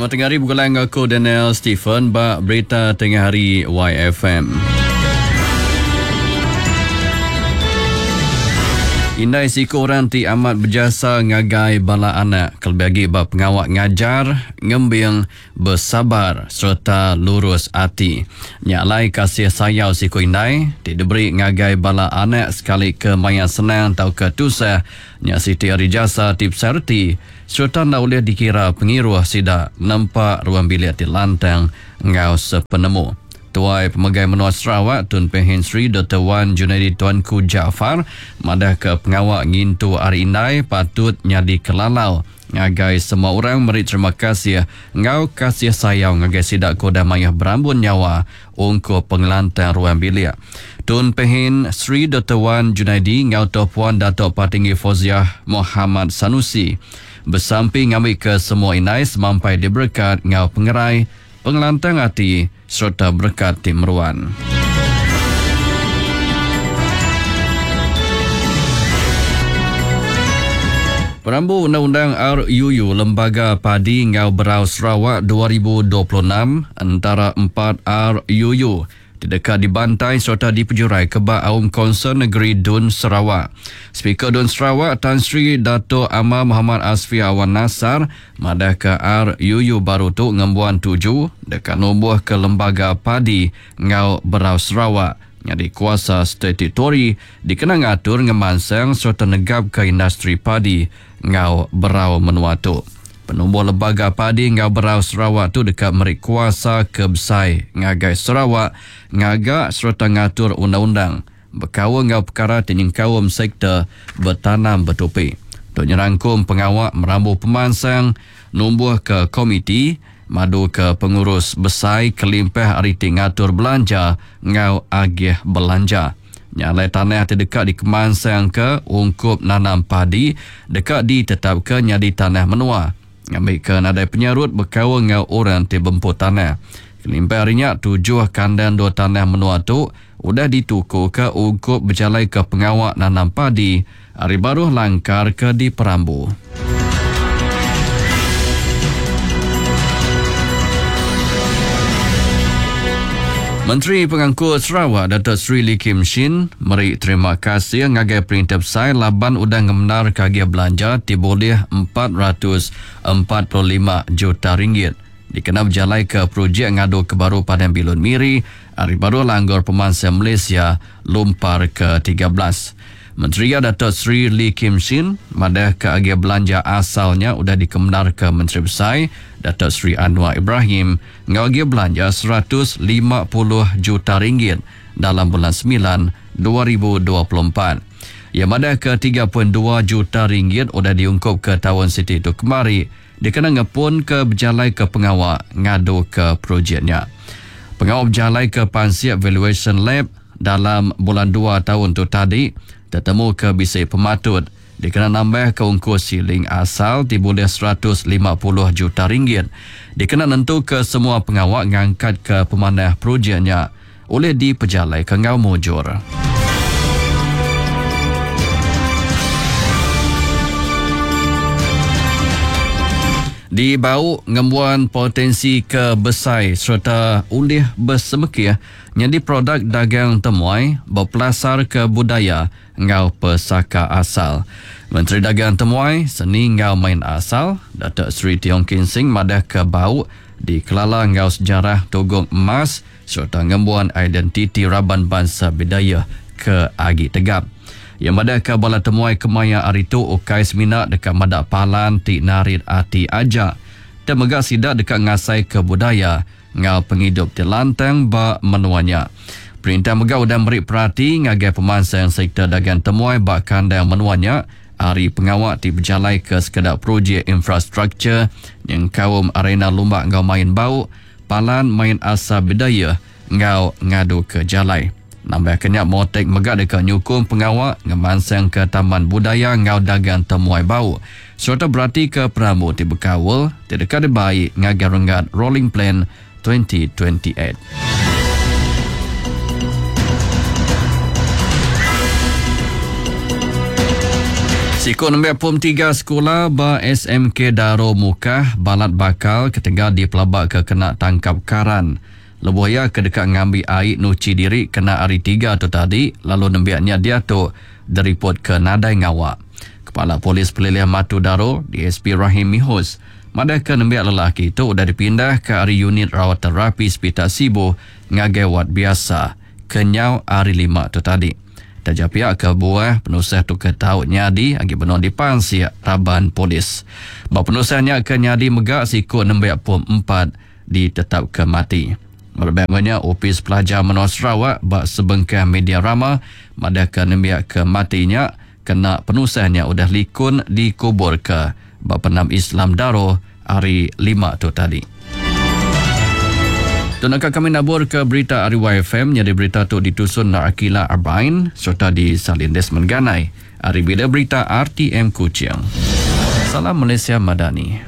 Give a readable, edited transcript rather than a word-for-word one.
Selamat tengah hari begulai enggau aku Daniel Stephen ba Berita Tengah Hari YFM. Indai siku orang ti amat bejasa ngagai bala anak kelebih agi ba pengawa ngajar, ngembing, besabar sereta lurus ati. Nya alai kasih sayau siku indai ti diberi ngagai bala anak sekali ke maya senang tauka tusah nya siti ari jasa ti besai reti sereta enda ulih dikira pengiruh sida nempa ruang bilik ti lantang enggau sepenemu. Tuai Pemegai Menua Sarawak Tun Pehin Sri Doktor Wan Junaidi Tuanku Jaafar madahka pengawa ngintu Hari Indai patut nyadi kelalau ngagai semua orang meri terima kasih enggau kasih sayau ngagai sida ke udah mayuh berambun nyawa ungkup pengelantang ruang bilik. Tun Pehin Sri Doktor Wan Junaidi enggau Toh Puan Datuk Patinggi Fauziah Mohamad Sanusi besampi ngambika semua indai semampai diberekat enggau pengerai, pengelantang ati sereta berekat ti meruan. Perambu Undang-Undang RUU Lembaga Padi enggau Berau Sarawak 2026 entara empat RUU ti deka dibantai sereta dipejuraika ba Aum Konsel Negeri Dun Sarawak. Speaker Dun Sarawak Tan Sri Datuk Amar Mohamad Asfia Awan Nasar madahka RUU baru tu ngembuan tuju deka numbuhka Lembaga Padi enggau Berau Sarawak nyadi kuasa statutori dikena ngatur ngemansang sereta negapka industri padi enggau berau menua tu. Penumbuh Lembaga Padi enggau Berau Sarawak tu deka meri kuasa ke besai ngagai Sarawak ngaga sereta ngatur undang-undang bekaul enggau pekara ti nyengkaum sektor betanam betupi. Tu nyerangkum pengawa merambu pemansang, numbuhka komiti, maduka pengurus besai kelimpah ari ti ngatur belanja enggau agih belanja. Nya alai tanah ti deka dikemansangka ungkup nanam padi deka ditetapka nyadi tanah menua ngambika nadai penyarut bekaul enggau orang ti bempu tanah. Kelimpah ari nya, tujuh kandang endur tanah menua tu udah ditukuka ungkup bejalaika pengawa nanam padi ari baruh langkar ke diperambu. Menteri Pengangkut Sarawak Dato Sri Lee Kim Shin meri terima kasih ngagai Perintah Besai laban udah ngemendarka agih belanja ti bulih 445 juta ringgit dikena bejalaika projek ngaduka baru Padang Bilun Miri ari baruh Langgur Pemansang Malaysia Lumpar ke 13. Menteri iya Dato Sri Lee Kim Shin madahka agih belanja asal nya udah dikemendarka Menteri Besai Dato Sri Anwar Ibrahim enggau agih belanja 150 juta ringgit dalam bulan semilan 2024. Iya madahka 3.2 juta ringgit udah diungkupka taun siti tu kemari dikena ngepunka bejalaika pengawa ngaduka projek nya. Pengawa bejalaika pansik Valuation Lab dalam bulan dua taun tu tadi tetemuka bisi pematut dikena nambahka ungkus siling asal ti bulih 150 juta ringgit dikena nentuka semua pengawa ngangkatka pemanah projek nya ulih dipejalaika enggau mujur. Di Bau ngembuan potensi ke besai sereta ulih besemekih nyadi produk dagang temuai bepelasarka budaya enggau pesaka asal. Menteri Dagang Temuai, Seni enggau Main Asal, Datuk Seri Tiong Kin Sing madahka Bau dikelala enggau sejarah Tugong Emas sereta ngembuan identiti raban bansa Bidayuh ke agi tegap. Iya madahka bala temuai kemaya hari tu ukai semina deka meda palan ti narit ati aja, tang mega sida deka ngasaika budaya enggau pengidup ti lantang ba menua nya. Perintah mega udah meri perati ngagai pemansang sektor dagang temuai ba kandang menua nya ari pengawa ti bejalaika sekeda projek infrastruktur nyengkaum arena lumba enggau main bau, palan main asal Bidayuh enggau ngaduka jalai. Nambahka nya, MOTAC mega deka nyukung pengawa ngemansangka taman budaya enggau dagang temuai bau sereta beratika perambu ti bekaul ti deka dibai ngagai renggat Rolling Plan 2028. Siku nembiak pom 3 sekula ba SMK Daro Mukah balat bakal ketegal dipelabaka kena tangkap karan lebuh iya ke deka ngambi ai nuchi diri kena Hari Tiga tu tadi lalu nembiak nya diatu diripotka nadai ngawa. Kepala Polis Pelilih Matu Daro, DSP Rahim Mihus, madahka nembiak lelaki tu udah dipindahka ari Unit Rawat Terapi Sepital Sibu ngagai wad biasa kenyau Hari Lima tu tadi. Taja pia kebuah penusah tu ke tau nyadi agi benung dipansik raban polis. Ba penusah nya ke nyadi mega siku nembiak pom 4 ditetapka mati. Berebak enggau nya, Opis Pelajar Menua Sarawak ba sebengkah media rama madahka nembiak ke mati nya kena penusah nya udah likun dikuburka ba Pendam Islam Daro Hari Lima tu tadi. Tu naka kami naburka berita ari YFM nyadi berita tu ditusun Na'akila Arbain sereta disalin Desmond Ganai ari Bila Berita RTM Kuching. Salam Malaysia Madani.